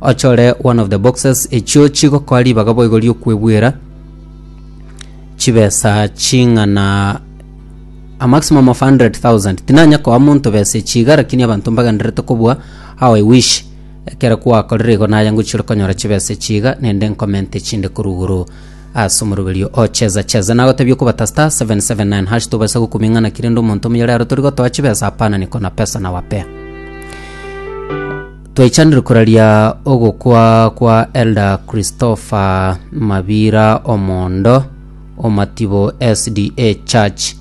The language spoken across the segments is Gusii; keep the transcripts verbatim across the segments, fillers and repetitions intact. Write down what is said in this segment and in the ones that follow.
Ochore one of the boxes echio chigokoa ribaga boigo riokwebwera chibesa ching'ana a maximum of hundred thousand. Tinanya koa monto besa echi iga lakini abanto mbagendererete kobua how I wish ekero gwakorire igo naye ngochia ore konyora chibesa echi iga naende nkomente echinde korwa igoro ase omoroberio o cheza cheza. Nagotebia okobata star seven seven nine hash tobasa gokumia ng'a naki rende omonto omuya rero tori gotoa chibesa hapana niko na pesa nawapea. Twaichanire koraria ogokwa kwa Elder Christopher Mabira Omondo Omatibo S D A Church.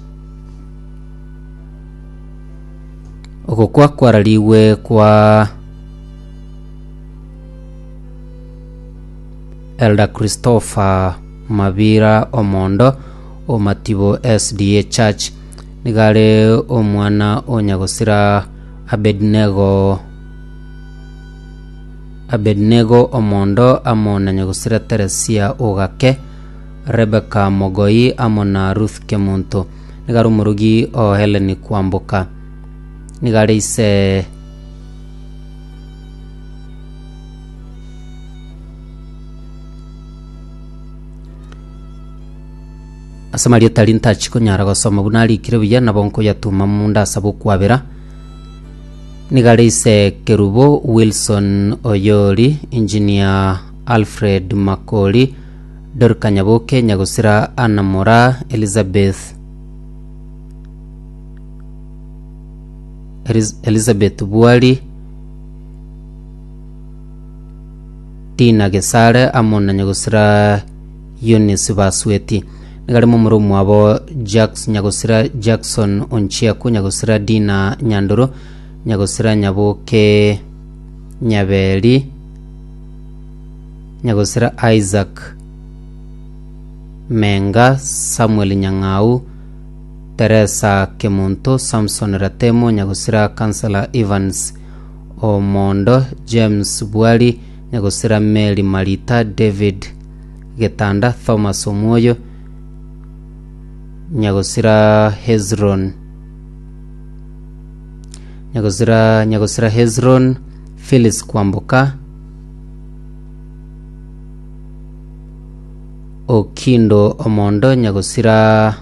Ogokwa kwararigwe kwa Elder Christopher Mabira Omondo Omatibo S D A Church. Nigo are omwana o nyagosira Abednego Abednego Omondo amo na nyagosira Teresia Ogake, Rebecca Mogoi amo na Ruth Kemunto. Nigo are omorogi o Helen Kwamboka. Nigo are ise ase amarieta aria ntachi konyara gosoma buna arikire buya nabo nkoyatuma munde asabe okwabera. Nigo are ise Kerubo Wilson Oyori, Engineer Alfred Makori, Dorika Nyaboke, Nyagosira Anna Moraa, Elizabeth Elizabeth Bwari, Dina Gesare amo na Nyagosira Eunice Basweti. Nigo are momura omwabo Jacks Nyagosira Jackson Onchiaku, Nyagosira Dina Nyandoro, Nyagosira Nyaboke Nyaberi, Nyagosira Isaac Menga, Samuel Nyang'au, Teresa Kemunto, Samson Ratemo, Nyagosira Councillor Evans Omondo, James Bwari, Nyagosira Mary Marita, David Getanda, Thomas Omwoyo, Nyagosira Hezron Nyagosira Nyagosira Hezron, Phyllis Kwamboka, Okindo Omondo, Nyagosira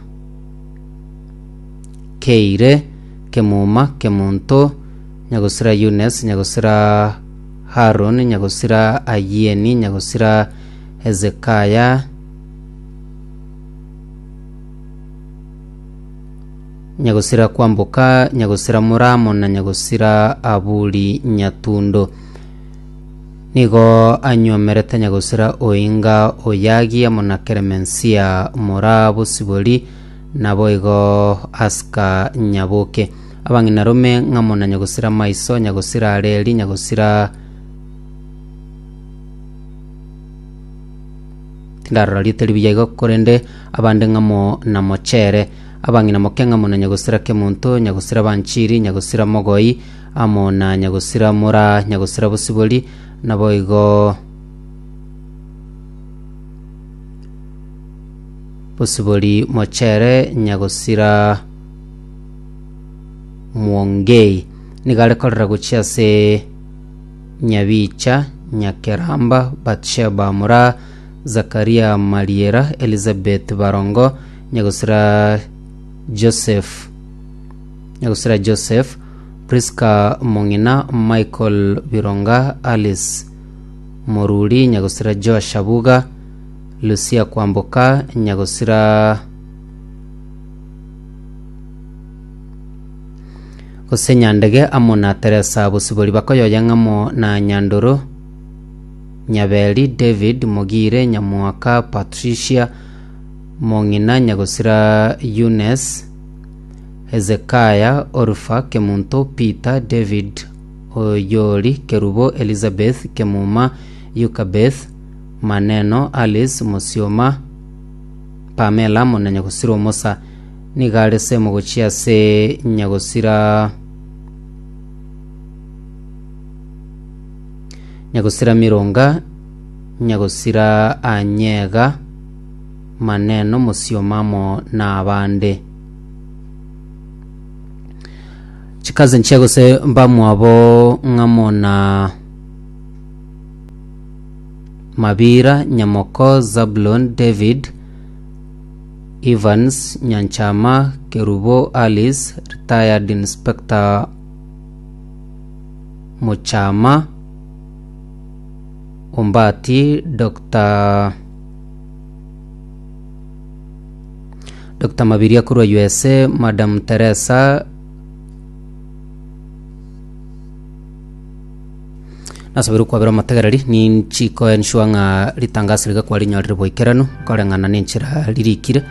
Keire, Kemuma, Kemunto, Nyagosira Eunice, Nyagosira Haron, Nyagosira Ayieni, Nyagosira Hezekaya, Nyagosira Kwamboka, Nyagosira Muramo na Nyagosira Aburi Nyatundo. Nigo anyuomerete Nyagosira Oinga Oyagi amo na Keremensia Moraa Bosibori naboigo Aska Nyaboke. Abang'ina rome ng'amo na Nyagosira Maiso, Nyagosira Areri, Nyagosira tindarora rieta ribuya igo korende abande ng'amo na Mochere. Abang'ina moke ng'amo na Nyagosira Kemunto, Nyagosira Banchiri, Nyagosira Mogoi amo na Nyagosira Moraa, Nyagosira Bosibori naboigo Bosibori Mochere, Nyagosira Mwongei. Nigo are korera gochia ase Nyabicha, Nyakeramba, Batsheba Moraa, Zakaria Mariera, Elizabeth Barongo, Nyagosira Joseph Nyagosira Joseph, Priska Mong'ina, Michael Bironga, Alice Moruri, Nyagosira Joash Abuga, Lucia Kwamboka, Nyagosira gose Nyandege amo na Teresa Bosibori bakoyoya ng'amo na Nyandoro Nyaberi, David Mogire, Nyamwaka Patricia Mong'ina, Nyagosira Eunice, Hezekiah, Orufa Kemunto, Peter, David Oyori, Kerubo, Elizabeth Kemuma, Yukabeth Maneno, Alice Mosioma, Pamela amo na Nyagosira Omosa. Nigo are semo gochia ase Nyagosira Nyagosira Mironga, Nyagosira Anyega, Maneno, Mosioma amo na abande. Chikazi nchia gose mbamwabo ng'amo na Mabira Nyamoko Zablon David Evans Nyanchama Kerubo Alice retired Inspector Muchama Ombati Dr. Dr. Mabiria korwa USA Madam Teresa nasabire kwabera amategereri ninchiko ensure ng'a ritangasi riga kwarinyorire boikeranu nkoreng'ana na enchera ririkire.